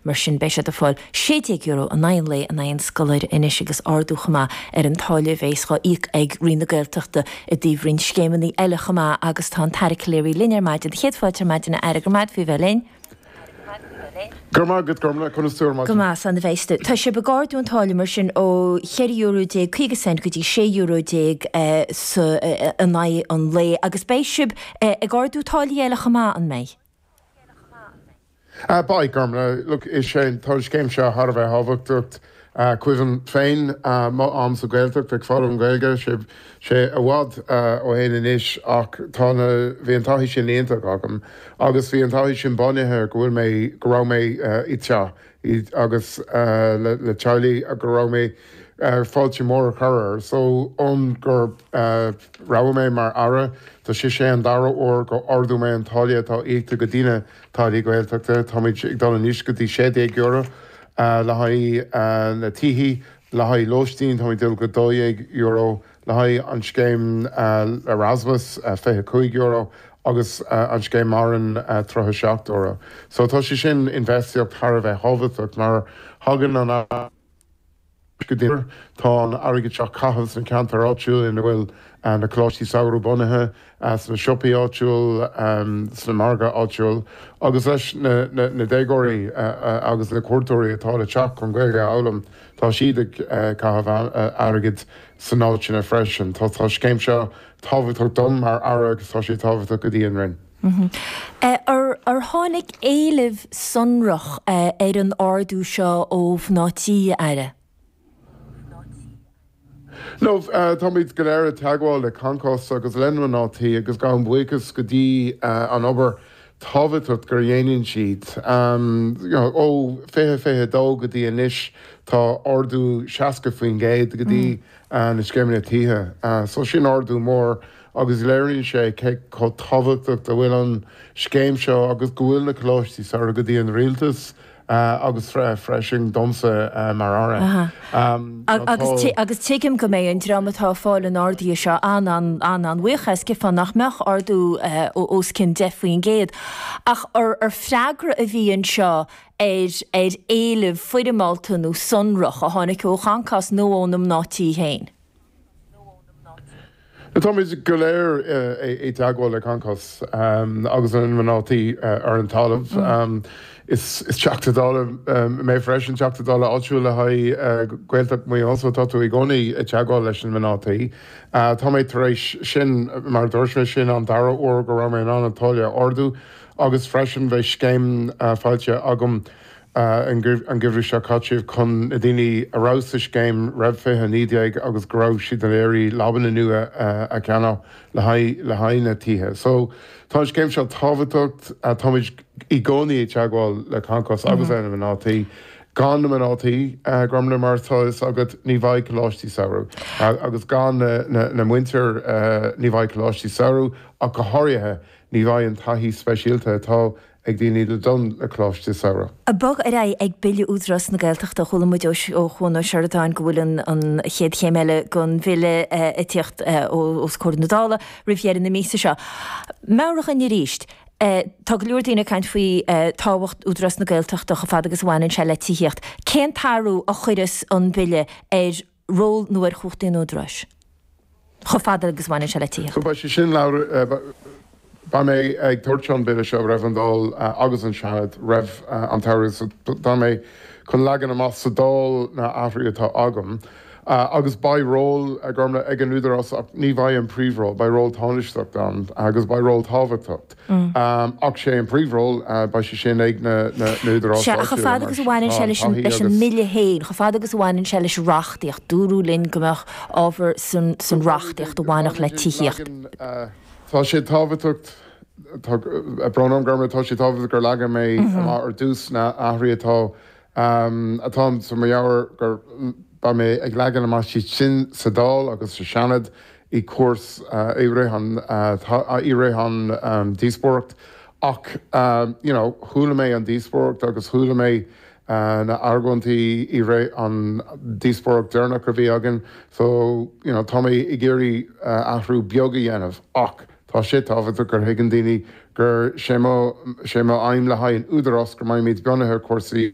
Mar sin beidh siad ag fáil €16 in aghaidh an lae in aghaidh an scoláire anois agus ardú chomh maith ar an táille a bheas dhá íoc ag Roinn na Gaeltachta i dtaobh roinnt scéimeanna eile chomh maith agus tá an tAire Calleary linn ar maidin. Céad fáilte ar maidin a Aire, go raibh maith agat faoi bheith linn. Go raibh maith agat, Gormlaith, conas tú ar maidin? Go maith, 's ana-mhaith. Tá sibh ag ardú an táille mar sin ó €14 50 cent go dtí €16 sa in aghaidh an lae agus beidh sibh ag ardú táillí eile chomh maith, an mbeidh? Beidh, Gormlaith. Look, is é, tá an scéim seo thar a bheith thábhachtach. Cuimhním féin mo am sa Ghaeltacht ag foghlaim Gaeilge, sé sé i bhfad ó shin anois ach tá na, bhí an taithí sin iontach agam agus bhí an taithí sin bunaithe go bhfuil mé, go raibh mé i dteach agus le le teaghlaigh go raibh mé fáilte mór a chur air. So ón gur roghadh mé mar Aire, tá sé sé an dara huair go ardú mé an táille atá íoctha go daoine táillí Gaeltachta. Táimid ag dul anois go dtí €16 le haghaidh na tithe, le haghaidh lóistín táimid ag dul go €12, le haghaidh an scéim Erasmus €25 agus an scéim Maireann €37. So tá sé sin infheistíocht thar a bheith thábhachtach mar thagann an. go dtí Tá an airgead seo á chaitheamh sna ceantair áitiúil ina bhfuil na coláistí samhraidh bunaithe, sna siopaí áitiúil, sna margaidh áitiúil agus leis na déagóirí agus na cuairteoirí atá le teacht chun Gaeilge a fhoghlaim, tá siad ag caitheamh airgid san áiteanna freisin. Tá an scéim seo tábhachtach dom mar Aire agus tá sé tábhachtach go dtí an Roinn. Ar tháinig éileamh sonrach ar an ardú seo ó mhná tí, a Aire? No, táimid go léir i dteagmháil le Concos agus le mná tí agus gabhaim buíochas go dtí an obair tábhachtach gur dhéanann siad. Ó 2022 go dtí anois tá ardú 60% go dtí na scéimeanna tithe. So sin ardú mór agus léiríonn sé cé chomh tábhachtach a bhfuil an scéim seo agus go bhfuil na coláistí samhraidh go dtí an rialtas agus freisin domsa mar Aire. Agus tuigim go mbeidh an dream atá ag fáil an ardaithe seo an-an-an-bhuíoch as, cheapfá nach mbeadh ardú os cionn 10% ach ar freagra a bhí anseo ar ar éileamh foirmeálta nó sonrach a tháinig ó Choncos nó ó na mná tí féin. Táimid go léir i dteagmháil le Concos agus na mná tí ar an talamh. Is Teachta Dála mé freisin, Teachta Dála áitiúil le haghaidh Gaeltacht Mhaigh Eo, so tá tú i gcónaí i dteagmháil leis na mná tí. Tá mé tar éis sin, mar a dúirt mé, sin an dara huair go raibh mé in ann an táille a ardú agus freisin bheidh scéim faighte agam an geimhreadh seo caite chun na daoine a raibh sa scéim roimh 2019 agus go raibh siad ag iarraidh leabanna nua a cheannach le haghaidh le haghaidh na tithe. So tá an scéim seo tábhachtach, táimid i gcónaí i dteagmháil le Concos agus le na mná tí. Gan na mná tí, Gormlaith, mar atá fhios agat, ní bheidh coláistí samhraidh agus gan na muintir ní bheidh coláistí samhraidh ach go háirithe ní bheidh an taithí speisialta atá ag daoine le dul le coláiste samhraidh. Bog ar aghaidh ag Bille Údarás na Gaeltachta. Chuala muid ó Chuan Ó Seireadáin go bhfuil an chéad chéim eile den bhille ag tíocht os comhair na Dála roimh dheireadh na míosa seo. Meabhraigh dhúinn arís, tá go leor daoine ag caint faoi tábhacht Údarás na Gaeltachta chomh fada agus a bhaineann sé le tithíocht. Cén t-athrú a chuireas an bille ar ról nó ar chumhachtaí an Údaráis, chomh fada agus a bhaineann sé le tithíocht. So beidh sé sin beidh mé ag tabhairt an Bille seo roimh an Dáil agus an Seanad roimh an tsamhradh so tá mé chun leagan amach sa Dáil na athruithe atá agam agus beidh ról Gormlaith ag an Údarás ach ní bheidh an príomhról, beidh ról tánaisteach ann agus beidh ról tábhachtach. Ach sé an príomhról, beidh sé sin ag na údaráis Sea, ach chomh fada agus a bhaineann sé leis an leis an mBille féin, chomh fada agus a bhaineann sé leis an reachtaíocht, dúradh linn go mbeadh ábhar san san reachtaíocht a bhainfeadh le tithíocht. Tá sé tábhachtach, tá brón orm Gormlaith, tá sé tábhachtach gur leagan mé amach ar dtús na athruithe atá atá sa mo mheabhair gur beidh mé ag leagan amach siad sin sa Dáil agus sa Seanad i cúrs i rith an i rith an díospóireacht ach you know chuala mé an díospóireacht agus chuala mé na argóintí i rith an díospóireacht deireanach a bhí againn so you know tá mé ag iarraidh athrú beag a dhéanamh ach tá sé tábhachtach gur thuigeann daoine gur sé mo sé mo aidhm le haghaidh an údarás go mbeimid bunaithe ar cúrsaí.